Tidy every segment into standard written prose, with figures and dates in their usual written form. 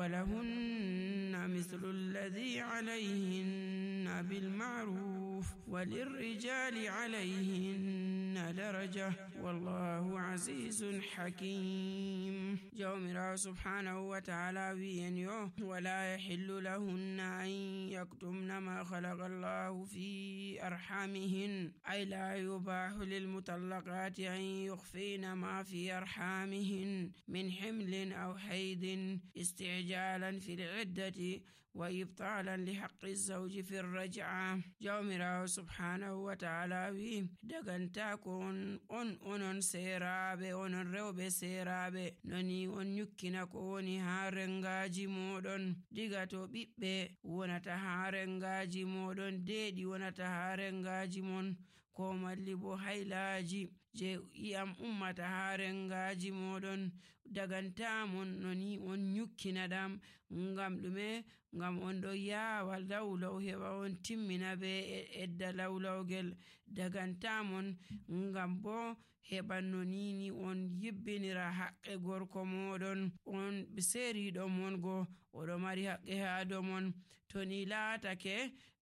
ولهن مثل الذي عليهن بالمعروف وللرجال عليهن درجة والله عزيز حكيم. جومرا سبحانه وتعالى وين ولا يحل لهن أن يكتمن ما خلق الله في أرحامهن أي لا يباح للمطلقات أن يخفين ما في أرحامهن من حمل أو حيض استعجالا في العدة وإبطالا لحق الزوج في الرجعة. جومرا سبحانه وتعالى وي دغنتاكون on seeraaɓe onon rewɓe seeraaɓe noni on nyukkina ko woni haa rengaaji moɗon diga to ɓiɓɓe wonata haa rengaaji moɗon deeɗi wonata haa rengaaji mon ko malli bo haylaaji je iyam ummata haa rengaaji moɗon dagantamon noni on nyukkina ɗam ngam ɗume ngam on ɗo yaawa lawlaw heɓa on timmina be edda lawlawgel dagantamon ngam bo heɓa nonini on yibbinira haqqe gorko moɗon on seeriɗo mon go oɗo mari haqqe haa dow mon to ni laatake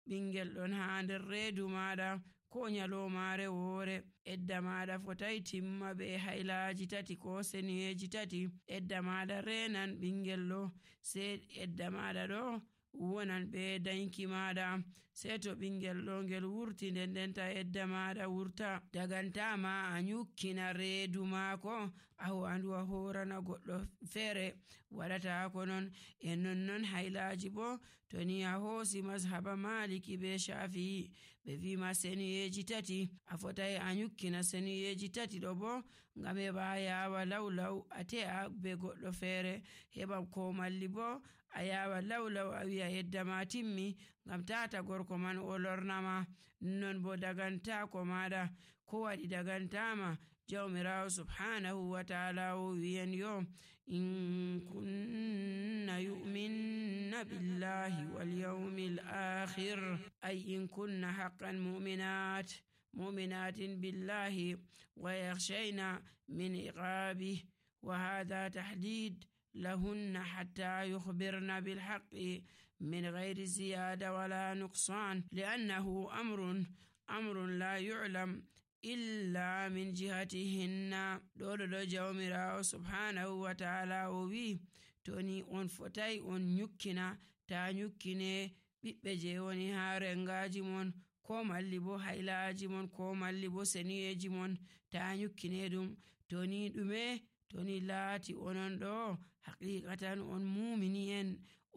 ɓingel ɗon haa nder reedu maɗa ko nyalomare woore edda maɗa fotai timma be haylaaji tati ko seniyeji tati edda maɗa renan ɓingel ɗo sei edda maɗa ɗo wonan ɓe danki maɗa sei to ɓingel ɗo ngel wurti ndendenta edda maɗa wurta dagantama a nyukkina reedu maako a wandu a horana goɗɗo feere waɗata ko non e nonnon haylaaji bo to ni a hoosi mazhaba maliki be shafi'i ɓe wima seniyeji tati a fotai a nyukkina seniyeji tati ɗo bo ngam heɓa yawa lawlaw a te'a be goɗɗo feere heɓa ko malli bo a yawa lawlaw a wi'a yedda ma timmi ngam tata gorko man o lornama non bo dagantako maɗa ko waɗi dagantama jawmirawo subhanahu wa ta'ala o wiyan yo in kunna yu'minna billahi wal yawmil akhir ay in kunna haqqan mu'minatin billahi wa yakhshayna min iqabi wa hadha tahdid لهن حتى يخبرن بالحق من غير زيادة ولا نقصان لأنه أمر لا يعلم إلا من جهتهن دولو جومرا سبحانه وتعالى وي توني on fotai on nyukkina ta nyukkine ɓiɓɓe je woni haa rengaji mon ko malli bo haylaaji mon ko malli bo seniyeji mon ta nyukkine ɗum toni ɗume toni laati onon ɗo haqiqatan on mumini en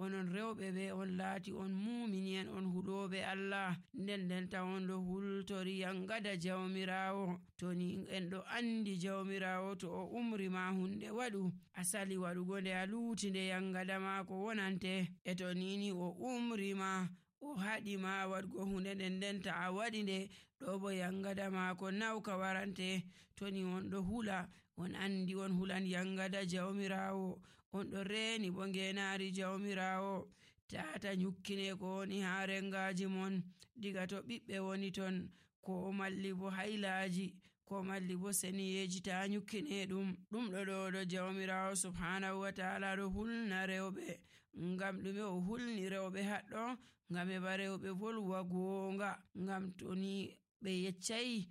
onon rewɓe ɓe on laati on mumini en on huɗoɓe Allah ndendenta on ɗo hultori yangada jawmirawo toni en ɗo andi jawmirawo to o umri ma hunde waɗu asali waɗugo nde a luuti nde yangada maako wonante e to nini o umri ma o haɗi ma waɗgo hunde ndendenta a waɗi nde ɗo bo yangada maako nawka warante toni on ɗo hula on andi on hulan yangada jawmirawo on ɗo reeni bo ngenaari jawmirawo tata nyukkine ko woni haa rengaji mon diga to ɓiɓɓe woni ton ko malli bo haylaaji ko malli bo seniyeji ta nyukkine ɗum ɗo jawmirawo subhanahu wa ta'ala ɗo hulna rewɓe ngam ɗume o hulni rewɓe haɗɗo ngam heɓa rewɓe volwa goonga ngam toni ɓe yeccayi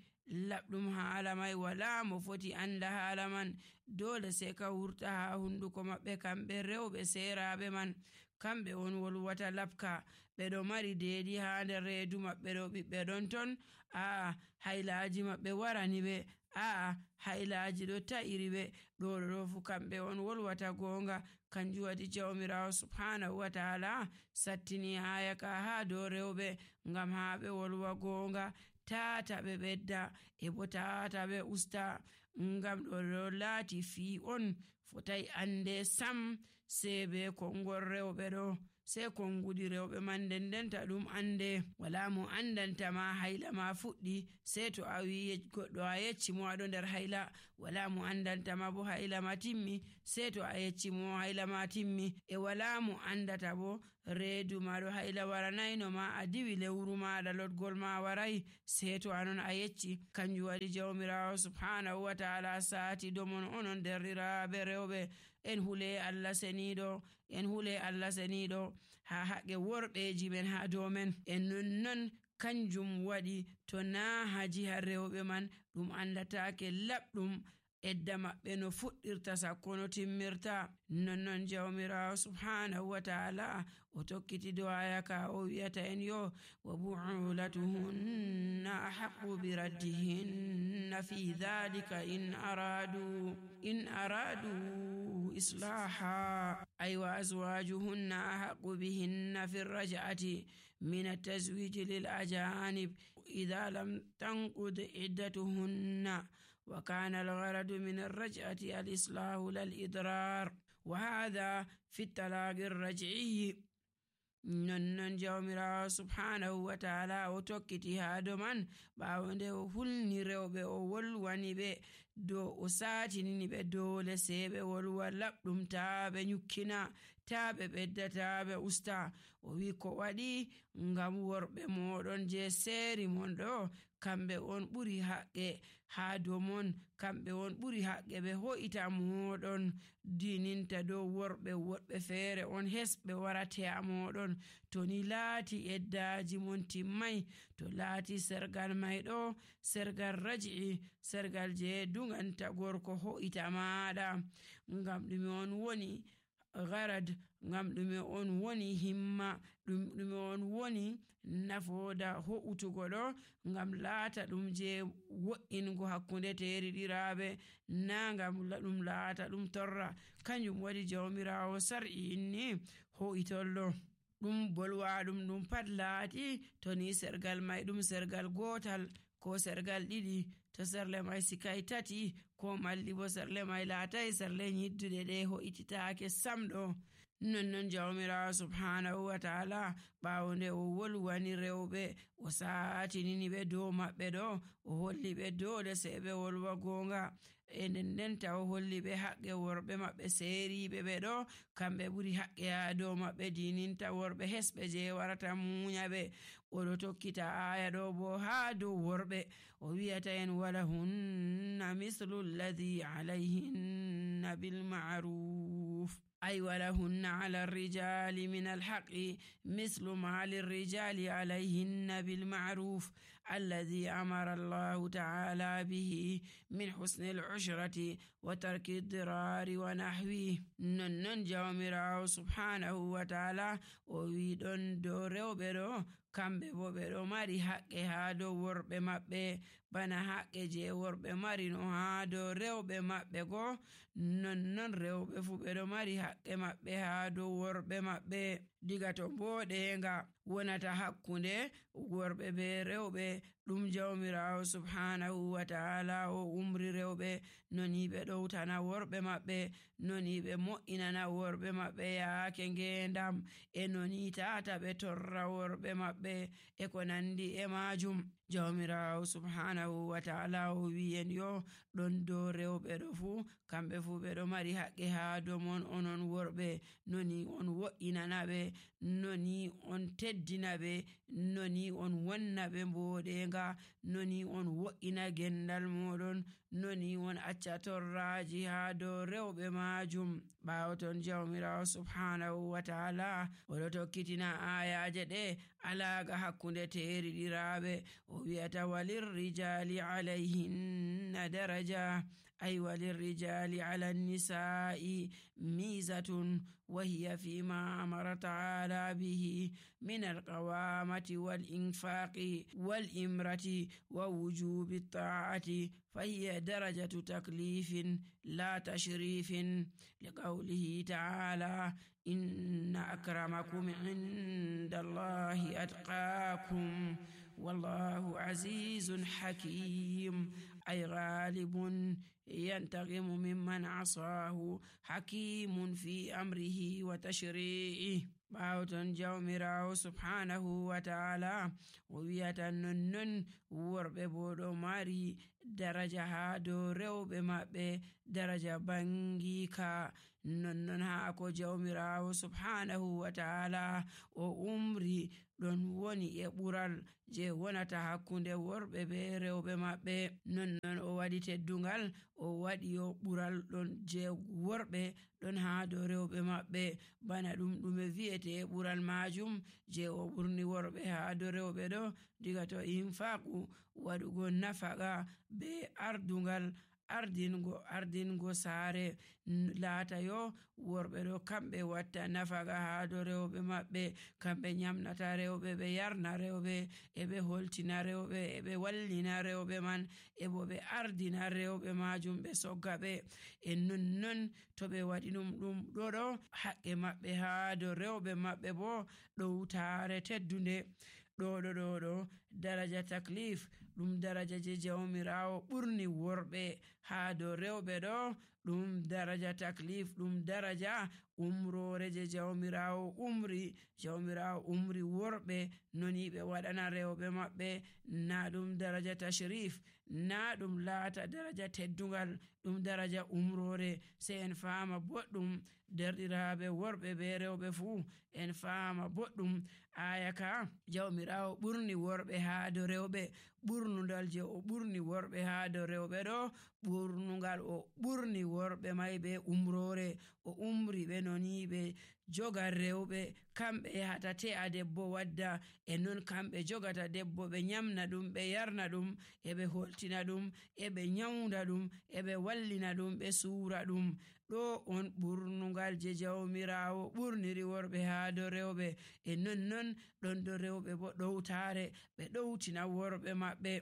laɓɗum haala mai wala mo foti anda haala man dole sai ka wurta haa hunduko maɓɓe kamɓe rewɓe seeraaɓe man kamɓe on wolwata labka ɓe ɗo mari deeɗi haa nder reedu maɓɓe ɗo ɓiɓɓe ɗon ton haylaaji maɓɓe warani ɓe haylaaji ɗo ta'iri ɓe ɗo fu kamɓe on wolwata goonga kanjum waɗi jawmirawo subhanahu wa ta'ala sattini aya ka haa dow rewɓe ngam haa ɓe wolwa goonga tata ɓe ɓedda e bo tata ɓe usta ngam ɗo laati fii on fotai ande sam sei be kongol rewɓe ɗo sei konngudi rewɓe man ndendenta ɗum ande wala mo andanta ma hayla ma fuɗɗi sei to a wi goɗɗo a yecci mo aɗo nder hayla wala mo andanta ma bo hayla ma timmi sei to a yecci mo hayla ma timmi e wala mo andata bo reedu ma ɗo hayla waranayno ma a diwi lewru maɗa lotgol ma waray sei to anon a yecci kanjum waɗi jawmirawo subhanahu wa ta'ala saati domon onon derriraɓe rewɓe en hule Allah seniɗo en hule Allah seniɗo ha haqqe worɓeji men ha dow men. En nonnon kanjum waɗi to na haji har rewɓe man ɗum andatake laɓɗum edda maɓɓe no fuɗɗirta sakko no timmirta. Nonnon jawmirawo subhanahu wa ta'ala o tokkiti do aya ka o wi'ata en yo wa bu'ulatuhunna ahaqqu bi raddihinna fi dhalika in aradu islaha ay wa azwajuhunna ahaqqu bihinna fi raj'ati min at-tazwij lil ajanib idha lam tanqud iddatuhunna wa kana al-gharadu min ar-raj'ati al-islahu lal idrar wa hadha fi at-talaq ar-raj'i. Nonnon jawmirawo subhanahu wa ta'ala o tokkiti ha do man ɓawo nde o hulni rewɓe o wolwani ɓe do o satinini ɓe dole sai ɓe wolwa laɓɗum ta ɓe nyukkina ta ɓe ɓedda ta ɓe usta. O wi ko waɗi ngam worɓe moɗon je seeri mon ɗo kamɓe on ɓuri haqqe ha dow mon, kamɓe on ɓuri haqqe ɓe ho'ita moɗon dininta dow worɓe woɗɓe feere on hesɓe warate a moɗon. To ni laati eddaji mon timmai, to laati sergal mai ɗo sergal raj'i, sergal je dunganta gorko ho'ita maɗa, ngam ɗume on woni gharad, ngam ɗume on woni himma, ɗume on woni nafoda ho'utugo ɗo, ngam laata ɗum je wo'ingo hakkunde teriɗiraɓe, na ngam ɗum laata ɗum torra. Kanjum waɗi jawmirawo sar'i inni ho'itollo ɗum bolwa ɗum pat laati to ni sergal mai ɗum sergal gotal ko sergal ɗiɗi, to serle mai sikai tati ko malli bo serle mai laatai serle nyiddude ɗe ho'ititake sam ɗo. Nonnon jawmirawo subhanahu wa ta'ala ɓawo nde o wolwani rewɓe o satinini ɓe dow maɓɓe ɗo o holli ɓe dole sai ɓe wolwa gonga, e ndenta o holli ɓe haqqe worɓe maɓɓe seeriɓe ɓe ɗo kamɓe ɓuri haqqe ha dow maɓɓe dininta worɓe hesɓe je warata munya ɓe. Oɗo tokkita aya ɗo bo ha dow worɓe o wi'ata en wala hunna mislu alladhi alayhinna bil ma'ruf ay wala hunna ala ar-rijali min al-haqqi mislu ma lir-rijali alayhinna bil ma'ruf alladhi amara Allah ta'ala bihi min husni al-ushrati wa tarki ad-dirari wa nahwi. Nonnon jawmirawo subhanahu wa ta'ala o wi ɗon dow rewɓe ɗo kamɓe bo ɓe ɗo mari haqqe ha dow worɓe maɓɓe bana haqqe je worɓe mari no ha dow rewɓe maɓɓe go, nonnon rewɓe fu ɓe ɗo mari haqqe maɓɓe ha dow worɓe maɓɓe. Diga to mboɗenga wonata hakkunde worɓe be rewɓe ɗum jawmirawo subhanahu wa ta'ala o umri rewɓe noni ɓe ɗowtana worɓe maɓɓe, noni ɓe mo'inana worɓe maɓɓe yaake ngendam, e noni tata ɓe torra worɓe maɓɓe e ko nandi e majum. Jawmirawo subhanahu wa ta'ala o wi en yo ɗon dow rewɓe ɗo fu kamɓe fu ɓe ɗo mari haqqe ha dow mon onon worɓe, noni on wo'inana ɓe, noni on teddina ɓe, noni on wonna ɓe mboɗenga, noni on wo'ina gendal moɗon, noni on acca torraji ha dow rewɓe majum. Ɓawo ton jawmirawo subhanahu wa ta'ala oɗo tokkitina ayaje ɗe alaga hakkunde teriɗiraɓe o wi'ata walir rijali alayhinna daraja ay walir rijali ala nisa'i mizatun wa hiya fima amara ta'ala bihi min alqawamati wal infaqi wal imrati wa wujubi ta'ati fahiya darajatu taklifin la tashrifin liqawlihi ta'ala inna akramakum inda Allahi atqakum wallahu azizun hakim ay ghalibun yantaqimu mimman asahu hakimun fi amrihi wa tashri'ihi. Ɓawo ton jawmirawo subhanahu wa ta'ala o wi'ata nonnon worɓe bo ɗo mari daraja ha dow rewɓe maɓɓe, daraja bangika. Nonnon ha ko jawmirawo subhanahu wa ta'ala o umri ɗon woni e ɓural je wonata hakkunde worɓe be rewɓe maɓɓe. Nonnon o waɗi teddungal o waɗi yo ɓural ɗon je worɓe ɗon haa dow rewɓe maɓɓe, bana ɗume wi'ete ɓural majum je o ɓurni worɓe haa dow rewɓe ɗo diga to infaqu waɗugo nafaqa be ardungal ardingo saare laata yo worɓe ɗo kamɓe watta nafaqa haa dow rewɓe maɓɓe, kamɓe nyamnata rewɓe, ɓe yarna rewɓe, eɓe holtina rewɓe, eɓe wallina rewɓe man, ebo ɓe ardina rewɓe majum ɓe sogga ɓe. nonnon to ɓe waɗi ɗum ɗo haqqe maɓɓe haa dow rewɓe maɓɓe bo ɗowtare teddunde. ɗo daraja taklif ɗum daraja je jawmirawo ɓurni worɓe haa dow rewɓe ɗo, ɗum daraja taklif ɗum daraja umrore je jawmirawo umri worɓe noni ɓe waɗana rewɓe maɓɓe, na ɗum daraja tashrif, na ɗum laata daraja teddungal, ɗum daraja umrore. sei en faama boɗɗum derɗiraɓe worɓe be rewɓe fuu en faama boɗɗum aya ka jawmirawo ɓurni worɓe haa dow rewɓe. ɓurnudal je o ɓurni worɓe haa dow rewɓe ɗo ɓurnungal o ɓurni worɓe mai be umrore, o umri ɓe noni ɓe joga rewɓe, kamɓe yahata te'a debbo wadda, e non kamɓe jogata debbo ɓe nyamna ɗum, ɓe yarna ɗum, eɓe holtina ɗum, eɓe nyaunda ɗum, eɓe wallina ɗum, ɓe suura ɗum. ɗo on ɓurnungal je jawmirawo ɓurniri worɓe haa dow rewɓe. e nonnon ɗon dow rewɓe bo ɗowtare ɓe ɗowtina worɓe maɓɓe.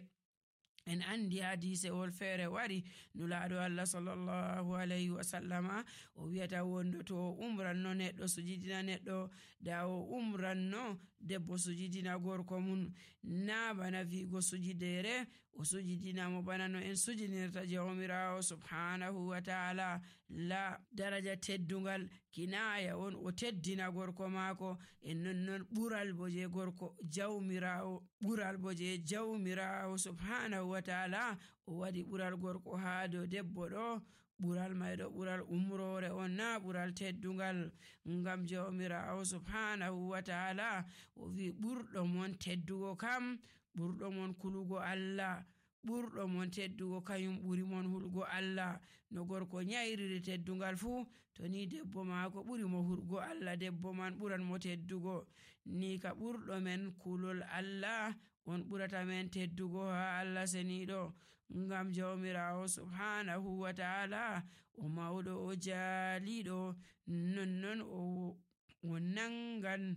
en andi hadisewol feere wari nulaaɗo Allah sallallahu alayhi wa sallama o wi'ata wondo to o umranno neɗɗo sujidina neɗɗo da o umranno debbo sujidina gorko mun, na bana wi'go sujidere o sujidina mo bana no en sujidinirta jawmirawo subhanahu wa ta'ala. la daraja teddungal kinaya on o teddina gorko maako, en nonnon ɓural bo je gorko jawmirawo, ɓural bo je jawmirawo subhanahu wa ta'ala o waɗi ɓural gorko haa dow debbo ɗo, ɓural mai ɗo ɓural umrore on, na ɓural teddungal. ngam jawmirawo subhanahu wa ta'ala o wi ɓurɗo mon teddugo kam ɓurɗo mon kulugo Allah, ɓurɗo mon teddugo kayum ɓuri mon hulgo Allah. no gorko nyairiri teddungal fuu, to ni debbo maako ɓuri mo hurgo Allah, debbo man ɓuran mo teddugo. ni ka ɓurɗo men kulol Allah on ɓurata men teddugo haa Allah seniɗo. ngam jawmirawo subhanahu wa ta'ala o mawɗo o jaaliɗo, nonnon o nangan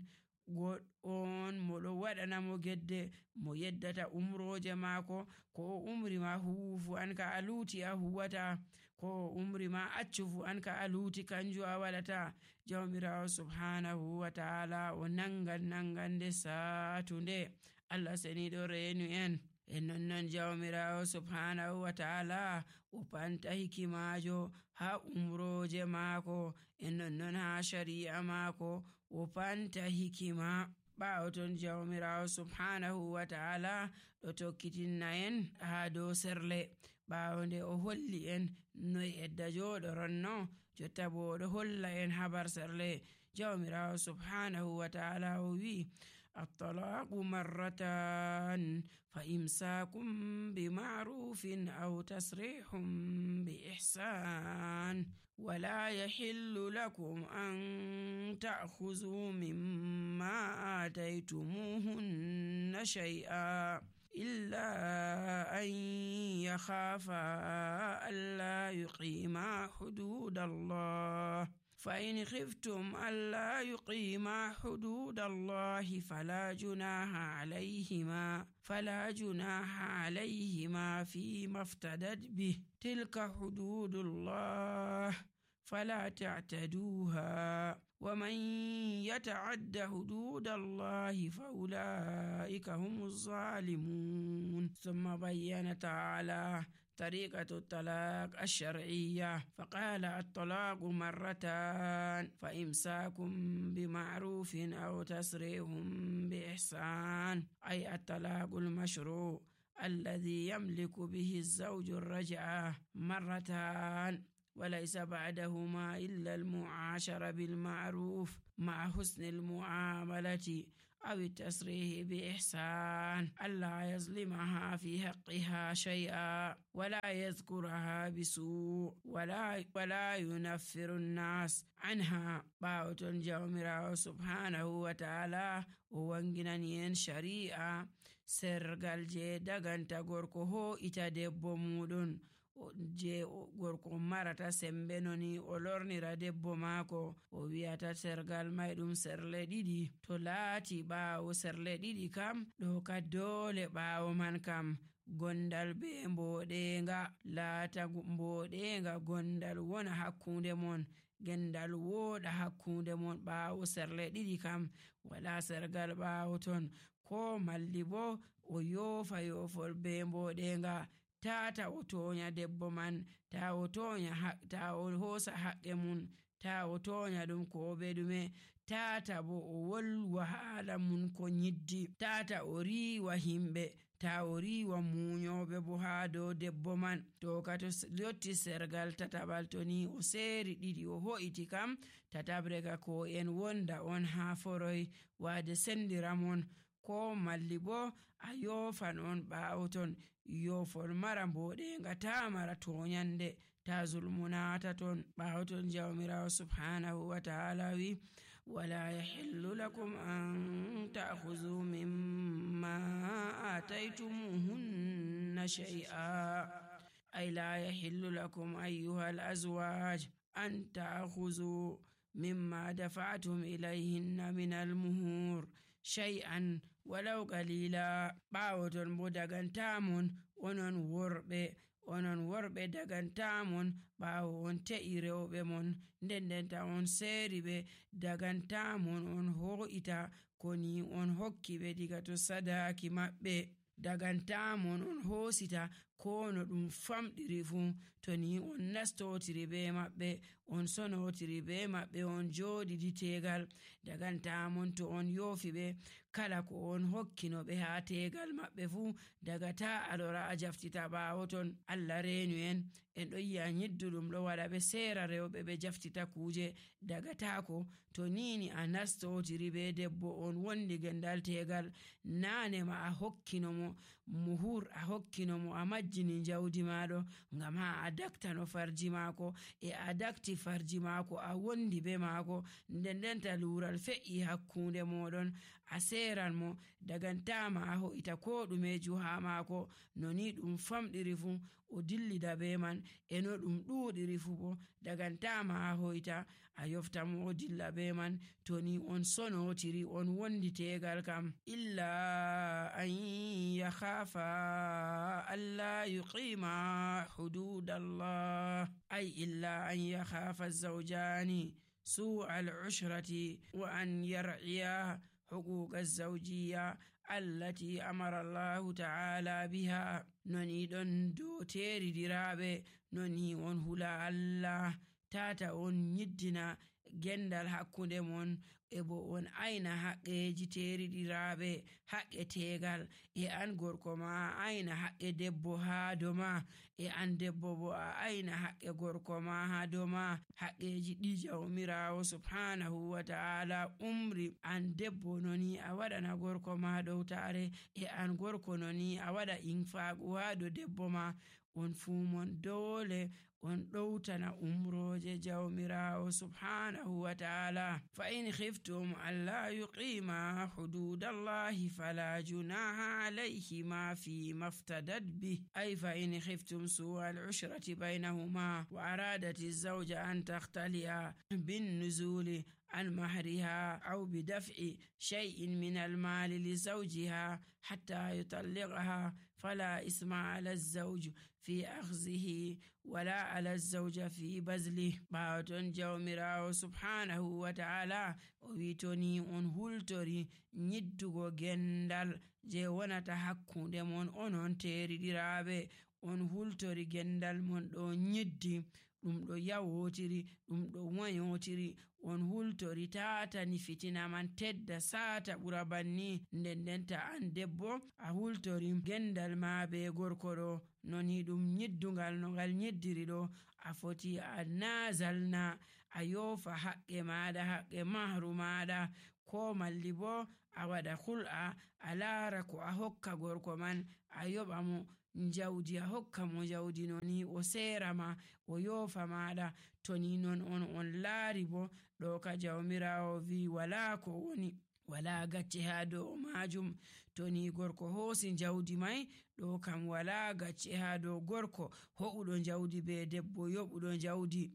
on moɗo waɗana mo gedde mo yeddata umroje maako. ko o umri ma huwu fu an ka a luuti a huwata, ko o umri ma accu fu an ka a luuti kanju a waɗata. jawmirawo subhanahu wa ta'ala o nangande satunde. Allah seniɗo reenu en. e nonnon jawmirawo subhanahu wa ta'ala o panta hikimajo ha umroje maako, e nonnon ha shari'a maako o panta hikima. ɓawo ton jawmirawo subhanahu wa ta'ala ɗo tokkitinna en ha dow serle, ɓawo nde o holli en noy edda joɗoronno, jotta bo oɗo holla en habar serle. jawmirawo subhanahu wa ta'ala o wi الطلاق مرتان فإمساكم بمعروف أو تسريح بإحسان ولا يحل لكم أن تأخذوا مما آتيتموهن شيئا إلا أن يخافا ألا يقيما حدود الله، فإن خفتم ألا يقيما حدود الله فلا جناح عليهما فيما افتدت به، تلك حدود الله فلا تعتدوها، ومن يتعد حدود الله فأولئك هم الظالمون. ثم بين تعالى طريقة الطلاق الشرعية فقال الطلاق مرتان فإمساك بمعروف أو تسريح بإحسان، أي الطلاق المشروع الذي يملك به الزوج الرجعة مرتان. وليس بعدهما إلا المعاشرة بالمعروف مع حسن المعاملة أو التصريح بإحسان، ألا يظلمها في حقها شيئا ولا يذكرها بسوء ولا ينفر الناس عنها. باوتون جوميراو سبحانه وتعالى وانجنانين شريعة sergal je daganta gorko ho'ita debbo muɗum je gorko marata sembe noni o lornira debbo maako o wi'ata sergal may ɗum serle ɗiɗi. To laati ɓaawo serle ɗiɗi kam ɗo ka doole ɓaawo man kam gondal be mboɗenga laata mboɗenga gondal wona hakkunde mon, gendal wooɗa hakkunde mon. ɓaawo serle ɗiɗi kam wala sergal ɓaawo ton, ko malli bo o yoofa yoofol be mboɗenga tata o toonya debbo man, ta o hoosa haqqe mun, ta o toonya ɗum ko be ɗume, tata bo o wolwa haala mun ko nyiddi, tata o riiwa himɓe, ta o riiwa muñoɓe bo haa dow debbo man. To ka to yotti sergal tataɓal to ni o seeri ɗiɗi o ho'iti kam tatabre ka ko en wonda on haa foroy waade sendira mon, ko malli bo a yoofan on ɓaawo ton yoofol mara mboɗenga ta mara toonyande, ta zulmunata ton. ɓaawo ton jawmirawo subhanahu wa ta'ala wi wala yahillu lakum an ta'khudhu mimma ataytumuhunna shay'a ay la yahillu lakum ayyuhal azwaj an ta'khudhu mimma dafa'tum ilayhinna min al-muhur shay'an walaw qalila. ɓaawo ton bo dagantamon onon worɓe dagantamon ɓaawo on te'i rewɓe mon ndendenta on seeri ɓe dagantamon on ho'ita ko ni on hokki ɓe diga to sadaki maɓɓe, dagantamon on hoosita ko no ɗum famɗiri fuu to ni on nastotiri be maɓɓe, on sonotiri be maɓɓe, on jooɗidi tegal, dagantamon to on yoofi ɓe kala ko on hokkino ɓe haa tegal maɓɓe fuu daga ta alora a jaftita ɓaawo ton. Allah reenu en ɗo yi'a nyidduɗum ɗo waɗa ɓe seera rewɓe ɓe jaftita kuuje daga taako to nini a nastotiri be debbo on wondi gendal tegal naane ma a hokkino mo muhur, a hokkino mo a majjini jawdi maɗo ngam ha a daktano farji maako e a dakti farji maako a wondi be maako ndendenta luural fe'i hakkunde moɗon a seeran mo dagantama a ho'ita ko ɗumeju ha maako no ni ɗum famɗiri fuu o dillida be man e no ɗum ɗuuɗiri fuu bo dagantama a ho'ita a yofta mo o dilla be man to ni on sonotiri on wondi tegal kam. illa an yakhafa alla yuqima hududallah ay illa an yakhafa zawjani سوء العشرة وأن يرعيا حقوق الزوجية التي أمر الله تعالى بها. نوني دون دو تيري ديرابي نوني on hula Allah tata on nyiddina gendal hakkunde mon e bo on ayna haqqeji teriɗiraɓe haqqe tegal e an gorko ma a ayna haqqe debbo ha doma e an debbo bo a ayna haqqe gorko ma ha doma haqqeji ɗi jawmirawo subhanahu wa ta'ala umri an debbo noni a waɗana gorko ma dow tare e an gorko noni a waɗa infaqu ha do debbo ma on fuu mon dole on ɗowtana umroje jawmirawo subhanahu wa ta'ala. fa in khiftum alla yuqima hududallahi fala junaha alayhima fi maftadat bih ay fa in khiftum su'a al-ushrati baynahuma wa aradat az-zawja an takhtali'a bin nuzuli عن مهرها أو بدفع شيء من المال لزوجها حتى يطلقها فلا إثم على الزوج في أخذه ولا على الزوجة في بذله. باوتون جawmirawo subhanahu wa ta'ala o witoni on hultori nyiddugo gendal je wonata hakkunde mon onon teriɗiraɓe on hultori gendal mon ɗo nyiddi ɗum ɗo yawotiri ɗum ɗo woyotiri on hultori tatani fitina man tedda sata ɓura banni. Nden ta an debbo a hultori gendal ma be gorko ɗo noni ɗum nyiddungal no ngal nyiddiri ɗo, a foti a nazalna a yofa haqqe maɗa, haqqe mahru maɗa, ko malli bo a waɗa hul'a a lara ko a hokka gorko man, a yoɓa mo jawdi, a hokka mo jawdi noni o sera ma o yofa maɗa. To ni non on laari bo ɗo ka jawmirawo wi wala ko woni, wala gacce ha dow majum. To ni gorko hosi jawdi mai ɗo kam wala gacce ha dow gorko ho'uɗo jawdi be debbo yoɓuɗo jawdi.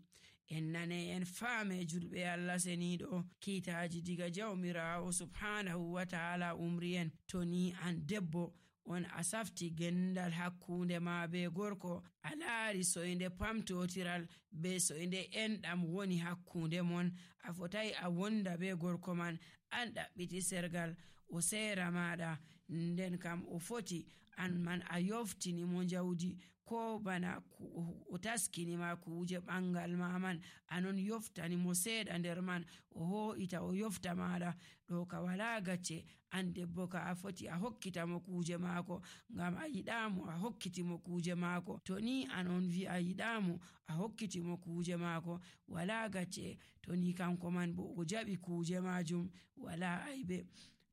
En nane en faame julɓe Allah seniɗo, kiitaji diga jawmirawo subhanahu wa ta'ala umri en. To ni an debbo on a safti gendal hakkunde ma be gorko, a laari soyde pamtotiral be soyde enɗam woni hakkunde mon, a fotai a wonda be gorko man an ɗaɓɓiti sergal o sera maɗa, nden kam o foti an man a yoftini mo jawdi, ko bana o taskini ma kuje ɓangal ma man anon yoftani mo seeɗa nder man, o ho'ita o yofta maɗa. ɗo ka wala gacce, an debbo ka a foti a hokkita mo kuje maako, ngam a yiɗamo a hokkiti mo kuje maako. To ni anon wi a yiɗamo a hokkiti mo kuje maako, wala gacce. To ni kanko man bo o jaɓi kuje majum wala aibe,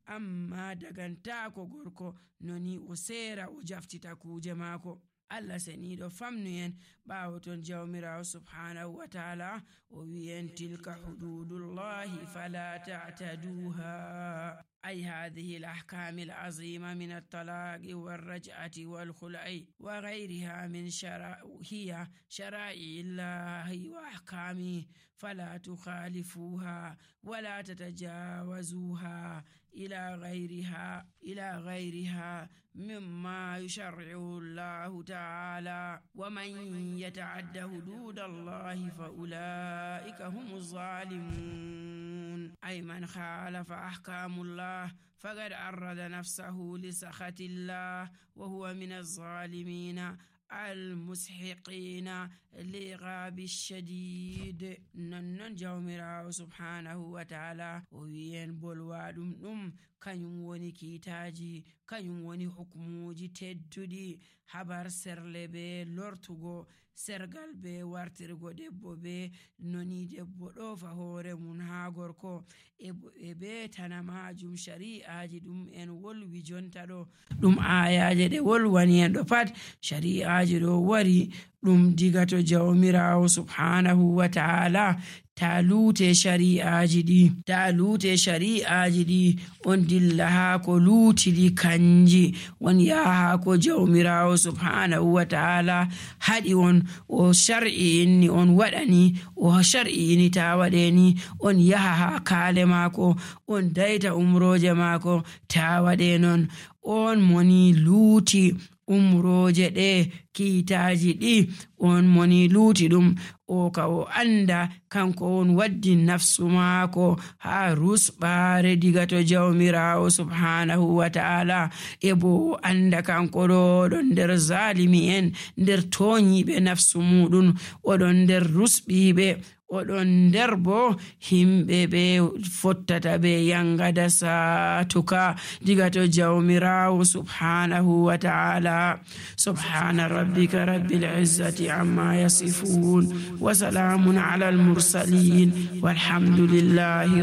amma dagantako gorko noni o sera o jaftita kuje maako. Allah seniɗo famnuyen ɓawo ton jawmirawo subhanahu wa ta'ala o wi'en tilka hududullahi fala ta'taduha. أي هذه الأحكام العظيمة من الطلاق والرجعة والخلع وغيرها من هي شرائع الله وأحكامه، فلا تخالفوها ولا تتجاوزوها إلى غيرها مما يشرعه الله تعالى. ومن يتعد حدود الله فأولئك هم الظالمون. أي من خالف أحكام الله فقد عرض نفسه لسخط الله وهو من الظالمين المسحقين للعقاب الشديد. نن جawmirawo subhanahu wa ta'ala o wi'en bolwaɗum ɗum kanyum woni kiitaji, kanyum woni hukmuji tedduɗi, habar serle be lortugo, sergal be wartirgo debbo be noni debbo ɗofa hoore mun ha gorko, e be tana majum shari'aji ɗum en wolwi jonta ɗo, ɗum ayaje ɗe wolwani en ɗo pat shari'aji ɗo wari ɗum diga to jawmirawo subhanahu wa ta'ala. ta lute shari'aji ɗi on dilla ha ko lutili kanji, on yaha ha ko jawmirawo subhanahu wa ta'ala haɗi on o shar'iini on waɗani, o shar'iini ta waɗeni, on yaha ha kaale maako on daita umroje maako ta waɗe non. On moni luuti umroje ɗe kiitaji ɗi, on moni luuti ɗum o ka o anda kanko on waddi nafsu maako ha rusɓare diga to jawmirawo subhanahu wa ta'ala, e bo o anda kanko ɗo nder zalimi en, nder toñiɓe nafsu muɗum, oɗon nder rusɓiɓe, oɗon nder bo himɓe ɓe fottata ɓe yangada satuka diga to jawmirawo subhanahu wa ta'ala. Subhana rabbika rabbil izzati amma yasifun wa salamun ala al mursalin walhamdulillahi